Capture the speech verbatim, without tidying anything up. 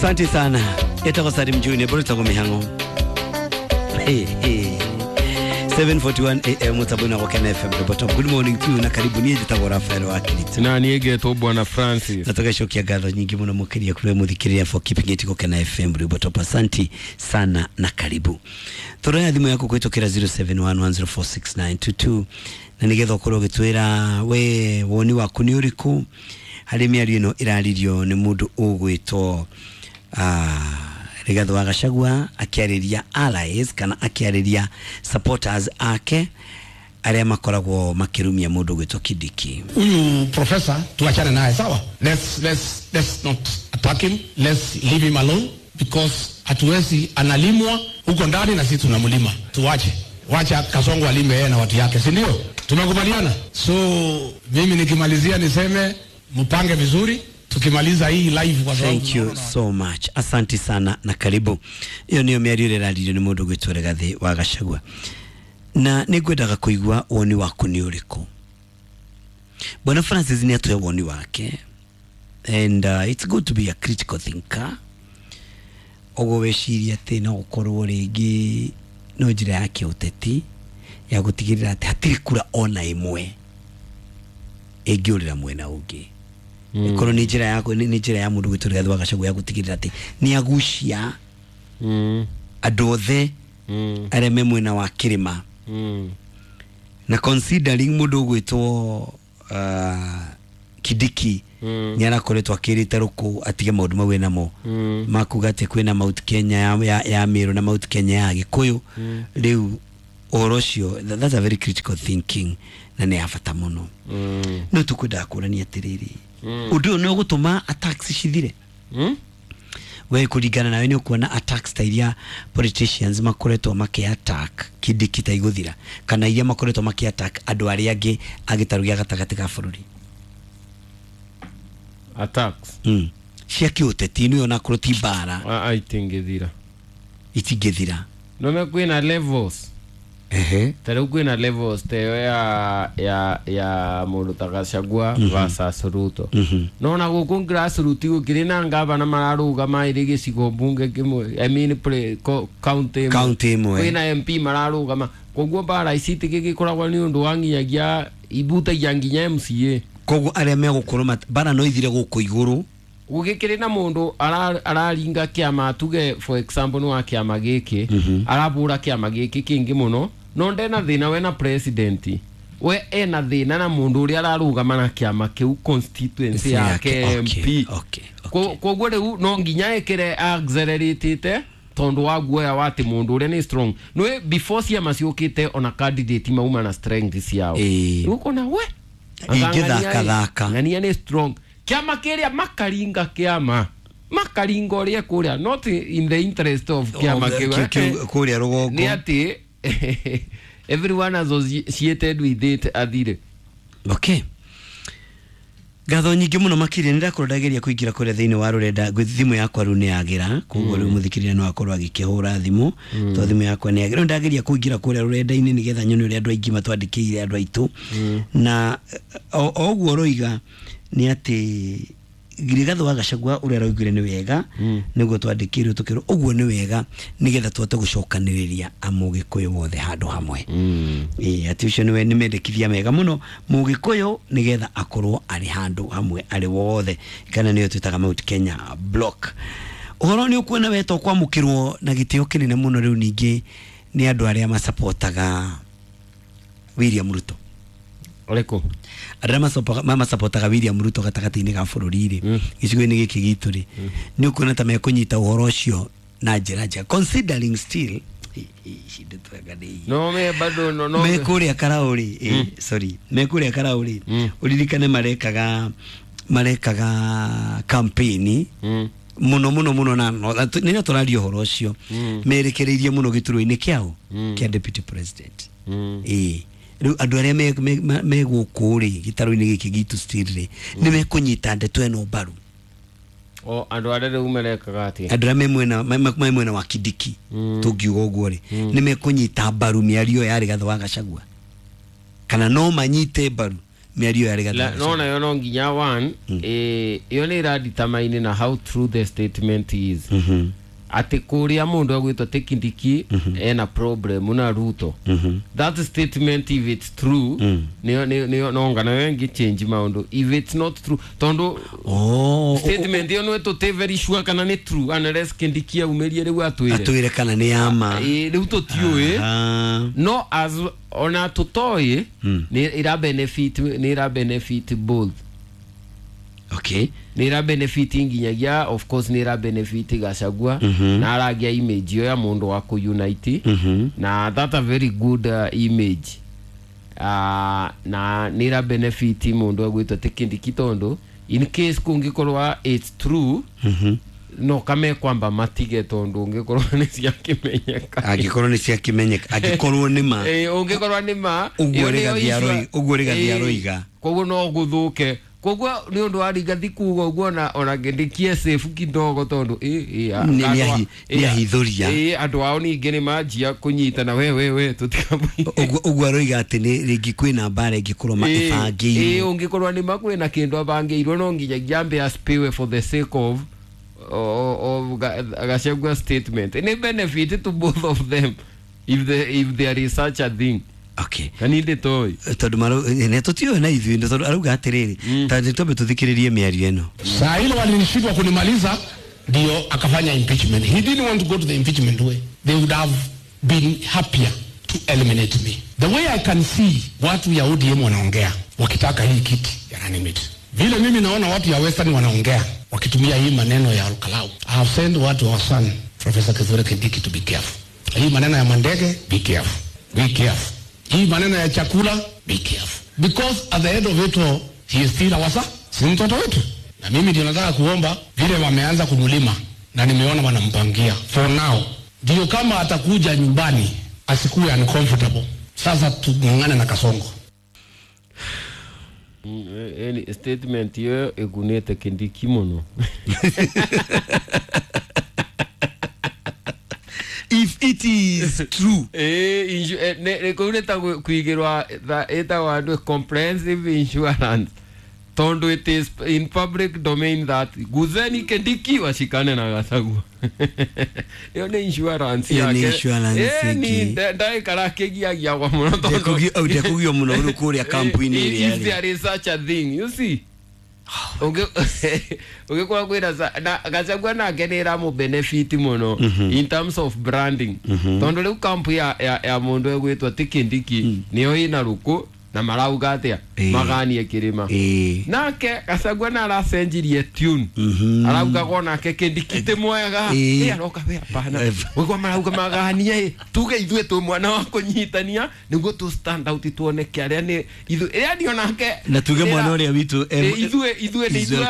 Asante sana. Etagwo Salim Junior boro mihango. Hey, hey. seven forty-one A M mutabona kwa Ken F M Robert. Good morning to you na karibu nie njitagwo Rafael wa Kirito. Na niegetwo Bwana Francis. Na tugacokia ngatho nyingi muno mukiria kuri muthikiria for keeping it kwa Ken F M Robert. Asante sana na karibu. Turoya thimu yaku kwitukira zero seven one one zero four six nine two two na nigetha ukorwo ugitwira we woni waku ni uriku hari miario ino iraririo ni mundu ugwitwo ah Rigathi wa Gachagua akiariria allies kana akiariria supporters ake aria makoragwo makirumia mundu gwitwo Kindiki. Huyu professor tuachane naye, sawa? Let's let's let's not attack him. Let's leave him alone because hatuwezi, analimwa huko ndani na sisi tunamlima. Tuache. Wacha Kasongo alime yeye na watu yake, si ndio? Tumekubaliana. So mimi nikimalizia niseme mpange vizuri. Tukimaliza hii live kwa sababu. Thank you so much. Asante sana na karibu. Iyo niyo mĩario ĩrĩa ĩraririo nĩ mũndũ gwĩtwo Rigathi wa Gachagua. Na nĩngwendaga kũigua woni waku nĩ ũrĩkũ. Bwana Francis nĩ atũhe woni wake. And uh, it's good to be a critical thinker. Ũguo weciria atĩ no gũkorwo rĩngĩ no njĩra ya kĩũteti ya gũtigĩrĩra atĩ hatirĩ kura ona ĩmwe ĩngĩũrĩra mwena ũngĩ. Mm. Korwo ni njĩra yako ni njĩra ya mũndũ gwĩtwo Rigathi wa Gachagua ya gũtigĩrĩra atĩ nĩ agucia mm. andũ othe mm. arĩa me mwena wa kĩrĩma mm. na considering mũndũ ũgwĩtwo uh, Kindiki mm. nĩ arakoretwo akĩrĩte rũkũ atige maũndũ mau enamo mm. makuga atĩ kwĩna Mount Kenya ya, ya, ya Meru na Mount Kenya ya Gĩkũyũ mm. rĩu ũhoro ũcio, that's a very critical thinking na nĩ ya bata mũno. mm. No tũkwendaga kũrania atĩrĩrĩ, ũndũ ũyũ nĩ ũgũtũma attacks cithire. Mm? We kũringana nawe nĩ ũkuona attacks ta iria politicians makoretwo makĩ attack Kindiki ta igũthira kana iria makoretwo makĩ attack andũ arĩa angĩ a gĩtarũ gĩa gatagatĩ ga bũrũri. Attacks mm. cia kĩũteti nĩ onakorwo ti mbara a itingĩthira itingĩthira no me kwĩna levels. Ehe, ta rĩu kwĩna levels ta ĩyo ya ya ya mũndũ ta Gachagua mm -hmm. versus Ruto. mm -hmm. No na gũkũ grassroots gũkĩrĩ na ngavana mararũgama ĩrĩ gĩcigo mbunge kĩmwe, I mean pre, co, county county ĩmwe kwĩna M P mararũgama, koguo mbara ici itigĩgĩkoragwo nĩ ũndũ wa nginyagia ibutagia nginya M C A. Koguo arĩa megũkorwo mbara no ithire gũkũ igũrũ gũgĩkĩrĩ na mũndũ araringa kĩama, tuge for example nĩ wa kĩama gĩkĩ mm -hmm. arabũra kĩama gĩkĩ kĩngĩ mũno no ndena thĩna we na president we ena thĩna na mũndũ ũrĩa ararũgama na kĩama kĩu constituency yake M P. Okay, okay. Koguo rĩu no nginya ĩkĩre accelerated tondũ wa guoya wa atĩ mũndũ ũrĩa nĩ strong. Nĩ before ciama ciũkĩte ona candidate mauma na strength ciao rĩu ũkona we ingĩthaka thaka ng'ania nĩ strong kĩama kĩrĩa makaringa kĩama makaringa ũrĩa kũrĩa not in the interest of kĩama kĩu kũrĩa rũgongo nĩ atĩ everyone associated with it athire. Okay, ngatho nyingĩ mũno makĩria nĩ ndakorwo ndageria kũingĩra kũrĩa thĩinĩ wa rũrenda thimũ yakwa rĩu nĩ yagĩra koguo rĩu mũthikĩrĩria no akorwo agĩkĩhũra thimũ tondũ thimũ yakwa nĩ yagĩra. Rĩu ndageria kũingĩra kũrĩa rũrenda-inĩ nĩgetha nyone ũrĩa andũ aingĩ matwandĩkĩire andũ aitũ na o ũguo roiga nĩ atĩ Rigathi wa Gachagua ũrĩa aroigire nĩ wega nĩguo twandĩkĩirwo tũkĩrwo ũguo nĩ wega nĩgetha tũhote gũcokanĩrĩria amũgĩkũyũ wothe handũ hamwe. Ĩĩ atĩ ũcio nĩwe nĩ mendekithia mega mũno mũgĩkũyũ nĩgetha akorwo arĩ handũ hamwe arĩ wothe kana nĩyo twĩtaga Mount Kenya Block. Ũhoro nĩ ũkuona wetwo kwamũkĩrwo na gĩtĩo kĩnene mũno rĩu ningĩ nĩ andũ arĩa masapotaga William Ruto. Ũrĩkũ? Arĩa mamasapotaga William Ruto gatagatĩ-inĩ ga bũrũri rĩ gĩcigo-inĩ gĩkĩ gitũ rĩ nĩ ũkuona ta mekũnyita ũhoro ũcio na njĩra njega considering still no me bado no no me kũrĩa Karaũ rĩ, sorry, me kũrĩa Karaũ rĩ ũririkane marekaga marekaga campaign mũno mũno mũno na nĩ tũraria ũhoro ũcio merekereirie mũno gĩturwa-inĩ kĩao kĩa deputy president. Ĩĩ rĩu andũ arĩa me gũkũ rĩ gĩtarũ-inĩ gĩkĩ gitũ still rĩ nĩ mekũnyita ndeto ĩno mbaru. O andũ arĩa rĩu marekaga atĩa? Andũ arĩa me mwena me mwena wa Kindiki tũngiuga ũguo rĩ nĩ mekũnyita mbaru mĩario ya Rigathi wa Gachagua kana no manyite mbaru Mĩario ya Rigathi La- wa nona yo no nginya one, eh, ĩyo nĩ ĩradetermine na how true the statement is, atĩ kũrĩa mũndũ agwĩtwo atĩ Kindiki ena problem na Ruto. That statement, if it's true, nĩyo nĩyo no ngana yo ĩngĩ change maũndũ. If it's not true, tondũ Oh, statement ĩyo nĩ tũtĩ very sure kana nĩ true unless Kindiki aumĩrie rĩu atwĩre. Atwĩre kana nĩ ya ma. Ĩ, rĩu tũtiũĩ. Aha. No as ona tũtoĩ, nĩ ĩra benefit nĩ ĩra benefit both. Okay. Nĩ ĩra benefit nginyagia, of course, nĩ ĩra benefit Gachagua na aragia image ĩyo ya mũndũ wa kũunite, na that a very good uh, image, uh, na nĩ ĩra benefit mũndũ agwĩtwo atĩ Kindiki, tondũ in case kũngĩkorwa it's true, no kame kwamba matige, tondũ ũngĩkorwo nĩ ciakĩmenyeka. Angĩkorwo nĩ ciakĩmenyeka, angĩkorwo nĩ ma. Ĩ, ũngĩkorwo nĩ ma. Ũguo ĩyo nĩyo Rigathi issue- aroi- ũguo Rigathi Ĩ, aroiga. Koguo no gũthũke, koguo nĩ ũndũ wa Rigathi kuga ũguo, ona ona Kindiki safe kidogo, tondũ ĩ, ĩ, a- Nĩ- nĩ andũ a- ahi- ĩ, nĩ ahithũria. Ĩ, andũ ao ningĩ nĩ manjia kũnyitana, we we we tũtikamũi. Ũguo ũguo aroiga atĩ nĩ rĩngĩ kwĩna mbara ĩngĩkorwo ma Ĩ, ĩbangĩirwo. Ũngĩkorwo nĩ ma kwĩna kĩndũ abangĩirwo, no nginyagia ambe aspiwe for the sake of of, of Ga- Gachagua statement. Nĩ benefit to both of them if the, if there is such a thing. Okay. Kani ndĩtoĩ. Tondũ maro nĩ tũtiũĩ na ithuĩ nĩ tondũ arauga atĩrĩrĩ, ta nĩ twambe tũthikĩrĩrie mĩario ĩno. Saa ile walishindwa kunimaliza, ndio akafanya impeachment. He didn't want to go to the impeachment way. They would have been happier to eliminate me. The way I can see watu ya O D M wanaongea wakitaka hii kiti ya running mate, vile mimi naona watu ya Western wanaongea wakitumia hii maneno ya Olkalou. I have sent watu wa son Professor Kithure Kindiki to be careful. Hii maneno ya mandege, be careful. Be careful. Hii maneno ya chakula, be careful. Because at the end of it all, he is still our son. Si mtoto wetu. Na mimi ndio nataka kuomba, vile wameanza kumlima na nimeona wanampangia for now, ndio kama atakuja nyumbani asikuwe uncomfortable. Sasa tung'ang'ane na Kasongo. Mm, eh, eh, statement ĩyo ĩgunĩte Kindiki mũno. If it is true. Ĩ, insu- eh, nĩ- nĩ kũu nĩ ta gwĩ- kũigĩrwa tha- ĩtagwo andũ comprehensive insurance, tondũ it is in public domain that guzeni Kindiki washikane na Gachagua. Ĩyo nĩ insurance Ĩyo nĩ yake. insurance Ĩ, ni ĩngĩ. nda- ndaikara akĩgiagiagwa mũno tondũ- Ndekũgio- au, ndekũgio mũno rĩu kũrĩa kampu-inĩ ĩrĩa If ĩrĩ. there is such a thing, you see, ũngĩkorwo kwĩna sa- na Gachagua nake nĩ ĩramũ benefit mũno in terms of branding, tondũ rĩu kampu ya, ya, ya mũndũ ĩgwĩtwo ti Kindiki nĩyo ĩna rũkũ na marauga atĩa? Ĩĩ. Maganie kĩrĩma. Ĩĩ. Nake Gachagua na aracenjirie tune, araugaga onake Kindiki ti mwega. Ĩĩ. Ĩ, aroka we hapana. Eh. Wĩgwa marauga maganie, ĩ, tuge ithuĩ twĩ mwana wa kũnyitania nĩguo tũ stand out tuoneke arĩa nĩ ithuĩ, yani onake Na tuge ĩra- mwana ũrĩa witũ em- Ĩ, ithuĩ ithuĩ nĩ is ithuĩ.